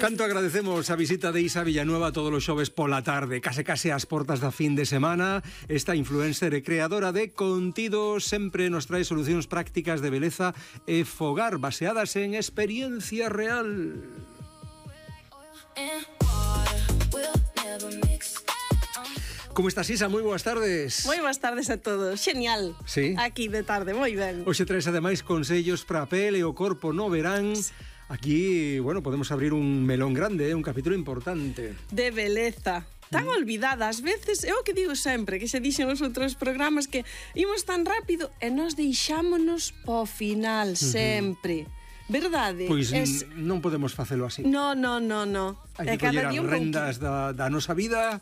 Canto agradecemos a visita de Isa Villanueva todos os xoves pola tarde, case ás portas da fin de semana. Esta influencer e creadora de contido sempre nos trae solucións prácticas de beleza e fogar baseadas en experiencia real. Como estás, Isa? Moi boas tardes. Moi boas tardes a todos. Genial. Sí. Aquí de tarde, moi ben. Hoxe traes ademais consellos para a pele e o corpo no verán. Aquí, bueno, podemos abrir un melón grande, un capítulo importante. De beleza. Tan olvidada, ás veces, é o que digo sempre, que se dixen os outros programas que imos tan rápido e nos deixámonos po final sempre. Verdade? Pois non podemos facelo así. No. Hai que coller as rendas da nosa vida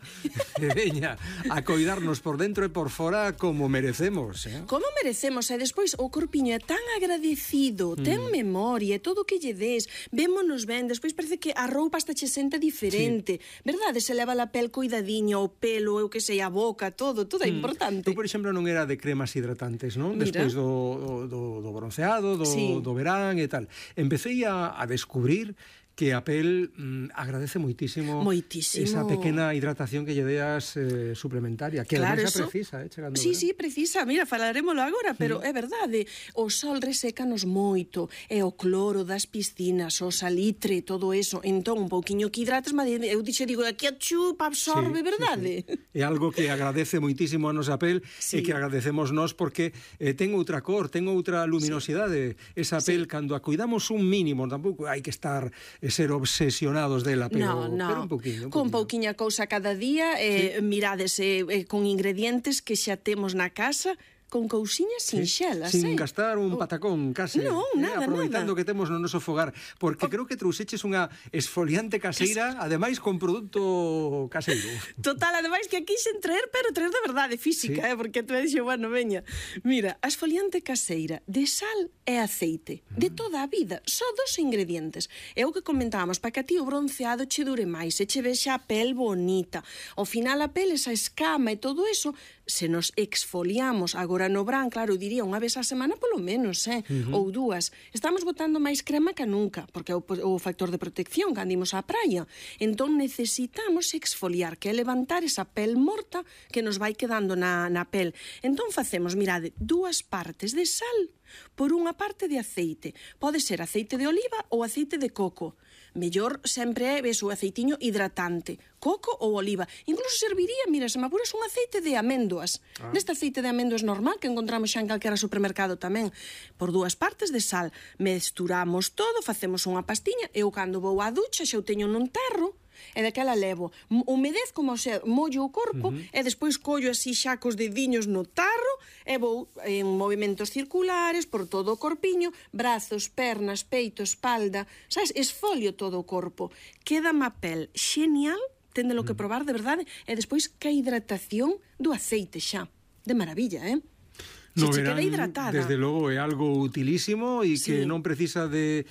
e veña, a coidarnos por dentro e por fora como merecemos, Como merecemos, e despois o corpiño é tan agradecido, ten memoria, todo o que lle des, vémonos ben, despois parece que a roupa hasta che sente diferente, verdade? Se leva a pel coidadiña, o pelo, eu que sei, a boca, todo é importante. Eu, por exemplo, non era de cremas hidratantes, non? Mira. Despois do bronceado, do verán e tal. Empecé a descubrir que a pel agradece moitísimo esa pequena hidratación que lle deas suplementaria, que claro, además precisa, chegando. Sí, precisa, mira, falaremoslo agora, pero é verdade, o sol resécanos moito, e o cloro das piscinas, o salitre, todo eso, entón un pouquiño que hidratas, eu digo, aquí a chupa, absorbe, verdade? Sí. É algo que agradece moitísimo a nosa pel e que agradecemos nós porque ten outra cor, ten outra luminosidade, esa pel, cando a cuidamos un mínimo, tampouco hai que estar ser obsesionados dela, pero un poquinho. Con pouquiña cousa cada día, mirades con ingredientes que xa temos na casa, con cousiñas sinxelas, sin gastar un patacón, case. Non, nada. Aproveitando que temos no noso fogar, porque creo que trouxeches unha esfoliante caseira, ademais con produto caseiro. Total, ademais que aquí sen traer, pero traer de verdade, física, porque te dixo, bueno, veña. Mira, a esfoliante caseira de sal e aceite, de toda a vida, só 2 ingredientes. É o que comentábamos, para que a ti o bronceado che dure máis, e che vexa a pel bonita. Ao final a pel, esa escama e todo eso, se nos exfoliamos agora no verán, claro, diría unha vez a semana polo menos, ou 2. Estamos botando máis crema que nunca, porque é o factor de protección cando imos á praia. Entón necesitamos exfoliar, que é levantar esa pel morta que nos vai quedando na pel. Entón facemos, mirade, 2 partes de sal por unha parte de aceite. Pode ser aceite de oliva ou aceite de coco. Mellor sempre é o aceitiño hidratante, coco ou oliva. Incluso serviría, mira, se me apuras, un aceite de améndoas. Neste aceite de améndoas normal que encontramos xa en calquera supermercado tamén. Por 2 partes de sal. Mesturamos todo, facemos unha pastiña. Eu cando vou á ducha xa o teño nun terro, e daquela levo, humedez como se mollo o corpo, e despois collo así xa cos dediños no tarro, e vou en movimentos circulares por todo o corpiño, brazos, pernas, peito, espalda, sabes, esfolio todo o corpo. Queda má pel xenial, téndelo que probar de verdade, e despois que a hidratación do aceite xa, de maravilla, No verán, desde logo, é algo utilísimo e que non precisa de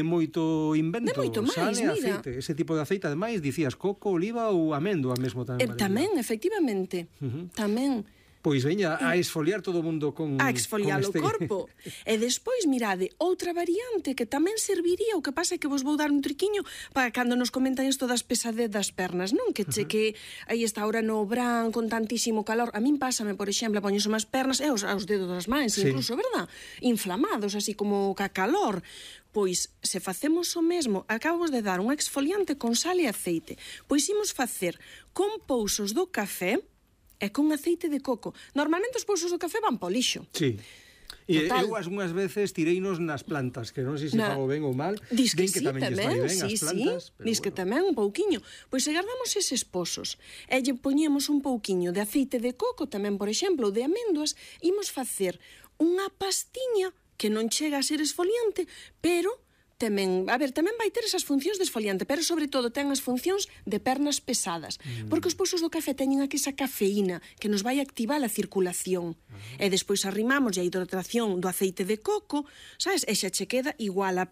moito invento. De moito máis, mira. Aceite, ese tipo de aceite, ademais, dicías coco, oliva ou améndoa mesmo tamén. Tamén, efectivamente, tamén. Pois veña, a esfoliar todo o mundo con a esfoliar o corpo. E despois, mirade, outra variante que tamén serviría, o que pasa é que vos vou dar un triquiño para cando nos comentan isto das pesadez das pernas, non? Que aí está ahora no verán con tantísimo calor. A min pásame, por exemplo, poñes unhas pernas e aos dedos das mans, incluso, verdad? Inflamados, así como ca calor. Pois, se facemos o mesmo, acabamos de dar un exfoliante con sal e aceite. Pois imos facer con pousos do café e con aceite de coco. Normalmente os pousos do café van po lixo. Sí. E eu unhas veces tireinos nas plantas, que non sei se fago ben ou mal. Diz que sí, tamén as plantas, diz que tamén un pouquiño. Pois se guardamos eses pozos e lle poñemos un pouquiño de aceite de coco, tamén, por exemplo, de améndoas, imos facer unha pastiña que non chega a ser esfoliante, pero tamén vai ter esas funcións de esfoliante, pero sobre todo ten as funcións de pernas pesadas, porque os pousos do café teñen aquí esa cafeína que nos vai activar a circulación, e despois arrimamos a hidratación do aceite de coco, sabes, e xa che queda igual a